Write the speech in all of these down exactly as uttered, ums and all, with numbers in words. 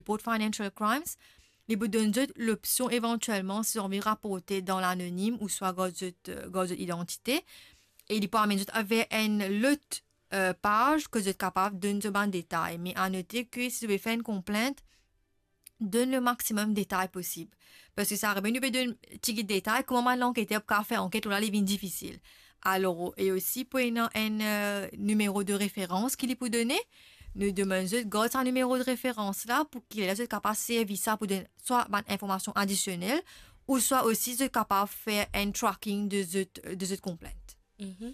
report financial crimes, li pou donn zot lopsion evantielman si zot anvi raporte dan lanonim ouswa gard zot, euh, gard zot idantite. E li pou amenn zot ver enn lot, euh, paz kot zot kapav donn zot bann detay. Me a note ke si zot pe fer enn konplint, donn le maximum detay posib. Parski sa arive, nou pe donn tigit detay, kouma bann lanketer pou kapav fer anket, la li vinn difisil. Alor, e osi pou ena enn, euh, nimero de referans ki li pou done, nou demann zot gard sa nimero de referans la, pou ki ler zot kapav servi sa pou donn swa bann informasion adisionel, ouswa osi zot kapav fer enn tracking de zot, de zot konplint. Mhm.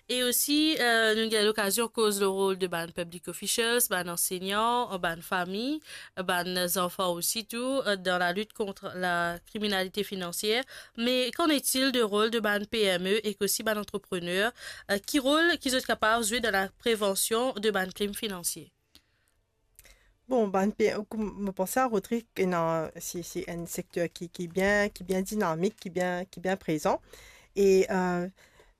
E osi, euh, nou gagn lokazion koz lor rol de bann public officials, bann ansegnan, bann fami, bann zanfan osi tou, euh, dan lalit kont lakriminalite finansier. Me qu'en est-il de rol de bann P M E ek osi bann antreprener? Euh, ki rol ki zot kapav zwe dan laprevansion de bann krim finansier? Bon, bann P-, kouma mo panse a Rodrigue, ena, se, se enn sekter ki, ki bien, ki bien dinamik, ki bien, ki bien prezan. E, euh,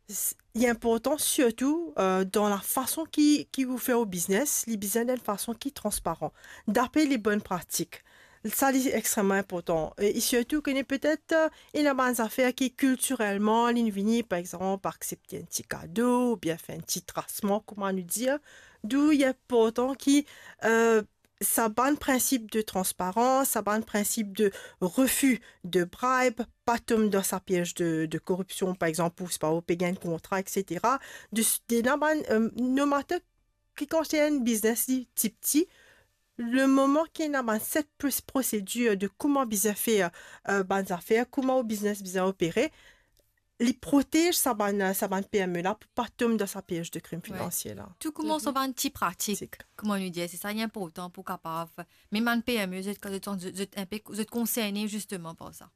s-, li inportan sirtou, euh, dan lafason ki, ki ou fer ou biznes, li bizin dan enn fason ki transparan, dapre le bonn pratik. Sa, li extreman inportan. E, e sirtou, kone petet, euh, ena bann zafer ki kiltirelman, li vini, par exanp, aksepte enn ti kado, oubien fer enn ti trasman, kouma nou dir. Dou li inportan ki, euh, sa bann prinsip de transparans, sa bann prinsip de refi de bribe, pa tom dan sa piez de, de koripsion, par exanp, ou, sepa, ou pe gagn kontra, et cetera. De, de la bann, euh, no matter ki konsern biznes li ti pti, le moman ki ena bann set pros-, prosedir de kouma bizin fer, euh, bann zafer, kouma ou biznes bizin opere, li protez sa bann, sa bann P M E la pou pa tom dan sa piez de krim finansier la. Tou koumans ar bann ti pratik, kouma nou dir, se sa ki inportan pou kapav, mem bann P M E, zot, zot, zot, zot inpe, zot konserne zisteman par sa.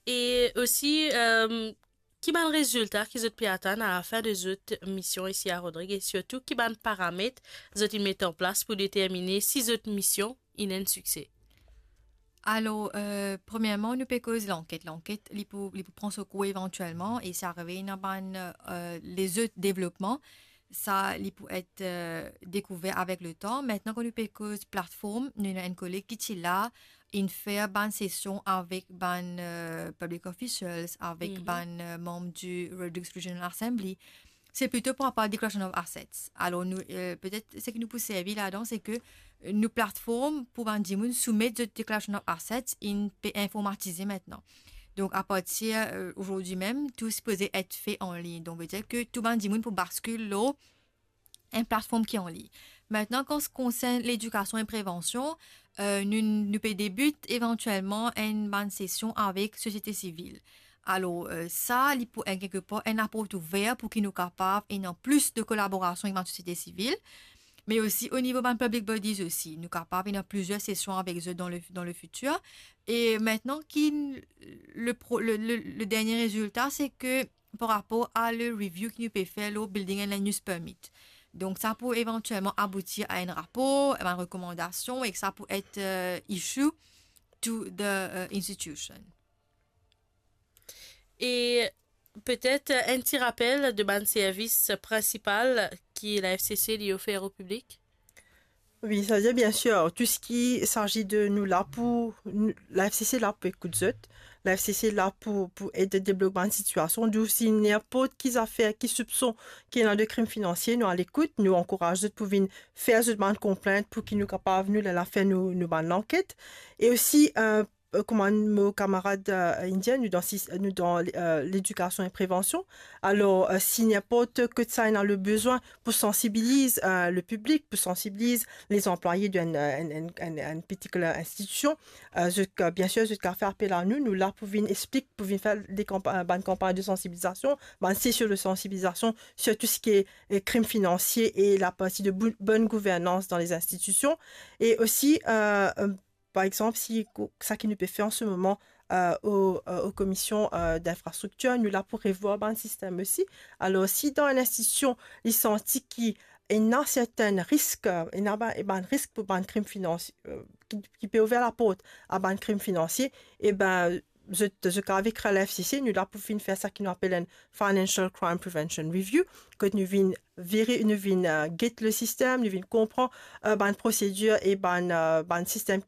E osi, euh, ki bann rezilta ki zot pe atann alafin de zot mision isi a Rodrig, e sirtou ki bann paramet zot inn met an plas pou determine si zot mision inn enn sikse? Alor, euh, premierman, nou pe koz lanket. Lanket, li pou, li pou pran so kour evantielman, e si arive ena bann, euh, lezot devlopman, sa, li pou et, euh, dekouver avek letan. Aster, kan nou pe koz platform, nou ena enn koleg ki ti la, inn fer bann sesion avek bann, euh, public officials, avek bann, euh, manm di Rodrigues Regional Assembly. Se plito par rapor a declaration of assets. Alor, nou, euh, petet seki nou pou servi ladan, se ke, euh, nou platform pou bann dimoun soumet zot declaration of assets, inn pe informatize aster. Donk, apartir, euh, azordi mem, tou sipoze et fe an lign. Donk, vedir ke tou bann dimoun pou baskil lor enn platform ki an lign. Aster, kan sa konsern ledikasion e prevansion, euh, nou, nou pe debit evantielman enn bann sesion avek sosiete sivil. Alor, euh, sa, li pou enn, kelkepar, enn laport ouver pou ki nou kapav ena plis de kolaborasion avek bann sosiete sivil, me osi o nivo bann public bodies osi. Nou kapav ena plizier sesion avek zot dan le, dan le fitir. E aster, ki le pro-, le, le, le dernie rezilta, se ke par rapor a le review ki nou pe fer lor building and land use permit. Donk, sa pou evantielman aboutir a enn rapor, bann rekomandasion, e sa pou et, euh, issue to the, euh, institution. E petet, euh, enn ti rapel de bann servis prinsipal ki la F C C li ofer o piblik? Wi, savedir, biensir, tou seki sazi de nou la pou, nou, la F C C la pou ekout zot, la F C C la pou, pou ed deblok bann sitiasion. Donk, si ninport ki zafer, ki soupson ki ena de krim finansier, nou alekout, nou ankouraz zot pou vinn fer zot bann konplint pou ki nou kapav, nou, la, la fer nou, nou bann lanket. E osi, euh, euh, kouma mo kamarad, euh, inn dir, nou dan sis-, nou dan, euh, ledikasion e prevansion. Alor, euh, si ninport kot sa ena le bizin pou sansibiliz, euh, le piblik, pou sansibiliz le zanplwaye de enn, euh, enn, enn, enn, enn particular institution, euh, zot, euh, biensir, zot kapav fer apel a nou, nou la pou vinn explik, pou vinn fer de kanpa-, bann kanpagn de sansibilizasion, bann sesion de sansibilizasion sir tou seki, euh, krim finansier e laparti de bou-, bonn gouvernans dan le institusion. E osi, euh, euh, par exanp, si ko-, sa ki nou pe fer an se moman, euh, o, euh, o Komision, euh, d'Infrastriktir, nou la pou revwar bann sistem osi. Alor, si dan enn institusion, li santi ki ena sertin risk, euh, ena ba-, e bann risk pou bann krim finansier, euh, ki, ki pe ouver laport a bann krim finansier, e ben, zot, zot kapav ekrir la F C C, nou la pou vinn fer sa ki nou apel enn Financial Crime Prevention Review, kot nou vinn veri-, nou vinn, euh, get le sistem, nou vinn konpran, euh, bann prosedir e bann, euh, bann sistem